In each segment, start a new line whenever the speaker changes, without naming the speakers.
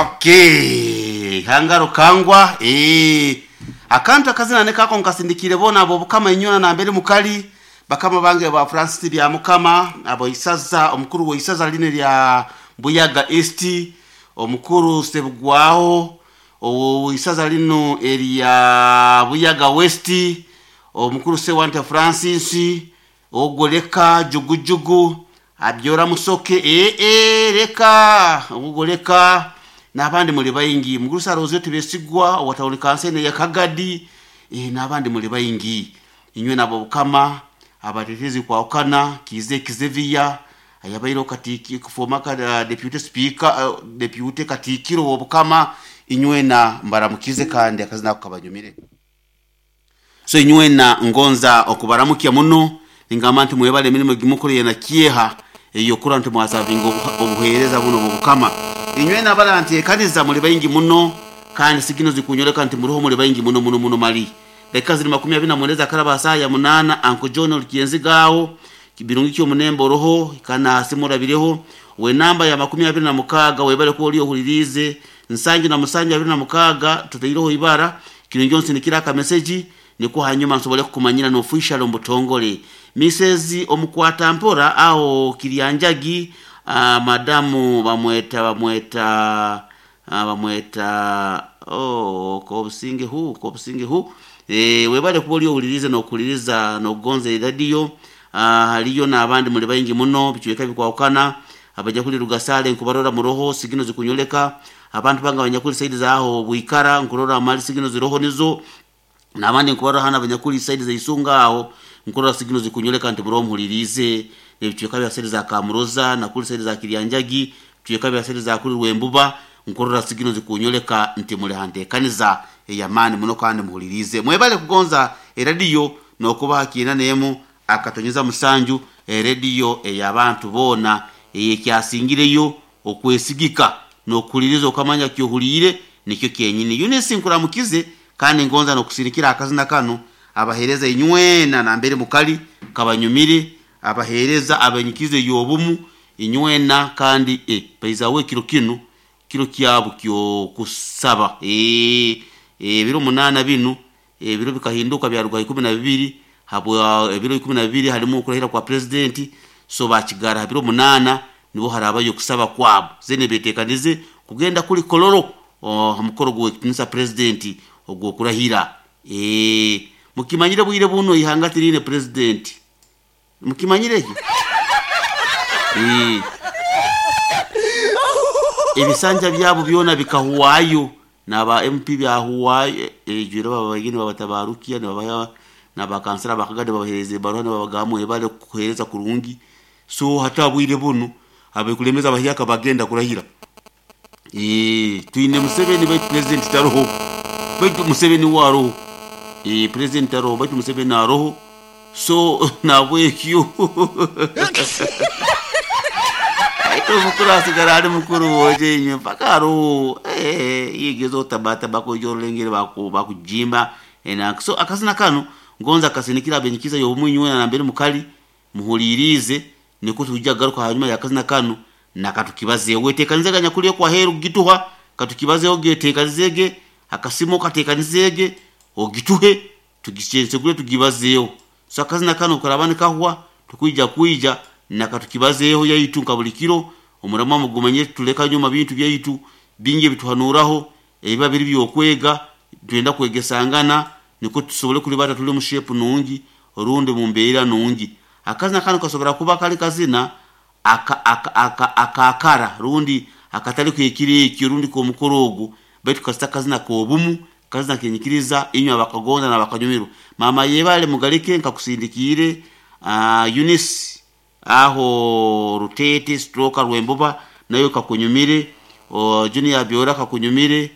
Okay, hangaro kangwa akantu akazina nekako nkasindikire bona abo bukama inyona nambere mukali bakama bange ba Francis bya mukama abo isaza omukuru wa isaza line lya Buyaga East, omukuru Sebugwaho owo isaza lino erya Buyaga West, omukuru Sewante Francis ogoleka jugujugu abyora musoke reka ogoleka n'abandi muli baingi mugurusa roze tubesigwa watawuli kansene ya Kagadi n'abandi muli baingi inywe nabo bukama abatetezi kwa okana kize kizevia ayabairo katiki kufoma ka deputy speaker, deputy katikiro wobukama inywe na mbaramukize kandi akazina kabanyumire. So inywe na ngonza okubaramukia muno ningamba nti mwebale emirimo gimukoreye na kieha eyo kura nti mwasavinga obuhereza buno bubukama inywe nabala nti ekaniza muli baingi muno kandi sigino zikunyoleka nti muruho muli baingi muno muno muno mali dakika ziri 28 karaba saa ya 8. Uncle John Olikienzigawo kibirungi kyo munembo roho kana simurabireho we namba ya 26 webale ko oli ohulirize nsangi na musangi 26 tutairoho ibara kirungi onsinikira aka message niko hanyuma nsobole kukumanyira no official mbutongole Mrs omukwata mpora aho Kirianjagi, madamu bamweta bamweta oh kobusinge hu kobusinge hu webale kuba oli ohulirize nokuliriza nokugonza radio. Haliyo n'abandi muli baingi muno bichweka bikwawukana abajja kuli Rugasale nkubarora muroho sigino zikunyoleka abantu banga abanyakuli saidi zaho bwikara nkurora mali sigino ziroho nizo n'abandi nkubarora hana abanyakuli saidi za Isunga aho nkurora sigino zikunyoleka nti muroho muhulirize ebichweka bya saidi za Kamuroza na kuli saidi za Kirianjagi bichweka bya saidi za kuli Rwembuba nkurora sigino zikunyoleka nti muli hantekaniza eyamani muno kandi muhulirize mwebale kugonza eradio nokuba kiina nemu akatonyeza musanju erediyo ey'abantu boona eyekyasingireyo okwesigika nokuhuliriza okamanya kyohuliire nikyo kyenyini. Eunice nkuramukize kandi ngonza nokusirikira akazina kano abahereza inywena nambere mukali kabanyumire abahereza abenyikize yobumu inywena kandi baizawe kiro kino kiro kyabo kyo kusaba ebiro 8 bino ebiro bikahinduka byaruga 12 habwa ebiro 12 halimu okurahira kwa president so bakigara biro 8 nibo harabayo kusaba kwabo zene betekanize kugenda kuli Kololo mukoro gwe kitinisa president ogwo kurahira mukimanyire bwire buno ihanga tirine president mukimanyire ekyo ebisanja byabo byona bikahuwayo naba MP byahuwayo ejura babagini babatabarukia nabaya nabakansera bakagade babahereze barwana babagamu ebale kuhereza kurungi so hata bwire buno abekulemeza bahyaka bagenda kurahira twine Museveni baitu president taroho baitu Museveni waroho president taroho baitu Museveni aroho so nabwekyo aito mukuru asigara ali mukuru woje inywe mpaka aroho yigezo otabata bakojorolengere bakujimba so akazina kano ngonza akasinikira abenyikiza yobumu na nambere mukali muhulirize niko tujja garuka hanyuma yakazina kano nakatukibazeewo wetekanizega nyakuliye kwa heru gituha katukibazeewo getekanizege akasimo katekanizege ogituhe tugichensegule tugibazeewo so akazina kano karabani kahwa tukuija kuija nakatukibazeeho yaitu nka buli kiro omurama mugumanye tuleka nyuma bintu byaitu bingi bituhanuraho ebiba biri byokwega twenda kwegesangana niko tusobole kulibata tuli mu shape nungi orundi mu mbeera nungi akazina kano kasobora kuba kali kazina akakara rundi akatali kwekiri ekyo rundi komukoro ogu baitu kasita kazina kobumu kazina kenyikiriza inywe abakagonza nabakanyumirwa mama yebale mugalike nkakusindikire Eunice aho Rutete stroka Rwembuba nayo kakunyumire Junior Biora kakunyumire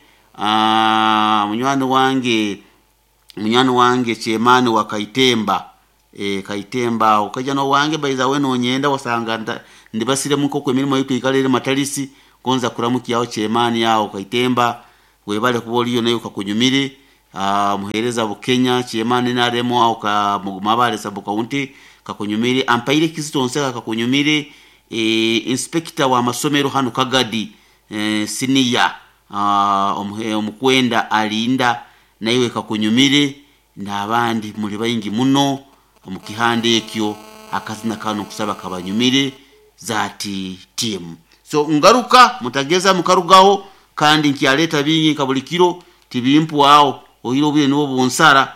munywani wange Chemani wa Kaitemba Kaitemba ukaja no wange baiza we nonyenda wasanga ndibasire muko kwe mirimo yitu ikalere matalisi gonza kuramukiyaho Chemani yao Kaitemba webale kuboliyo nayo kakunyumire muhereza Bukenya Chemani naremo au ka mugumabale sabu kaunti kakunyumire ampaire kizito kakunyumire inspector wa masomero hano Kagadi senior. Omukwenda alinda naiwe kakunyumire n'abandi muli baingi muno omu kihanda ekyo. Akazina kano nkusaba kabanyumire zati timu. So ngaruka mutageza mukarugaho, kandi nkyaleta bingi nka buli kiro tibimpwaho, oire obwire nibwo bunsara.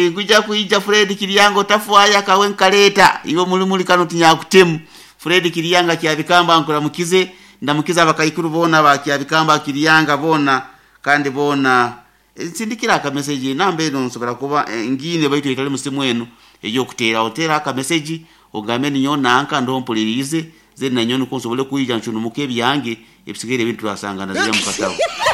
Nkuja kwija Fred Kiryanga otafwayo akawe nkaleta iwe muli kano tinyakutemu. Fred Kiryanga kyabikamba nkuramukize, ndamukiza abakaikuru bona bakyabikamba Kiryanga bona, kandi bona nsindikira akameseji namba eno nsobora kuba ngine baitu etali musimu eno eyokutera otera akameseji ogambe ninyo nanka ndo mpulirize ze nanyo niko nsobole kwija nshunumuka ebyange ebisigaire ebintu turasangana zira mukatabo.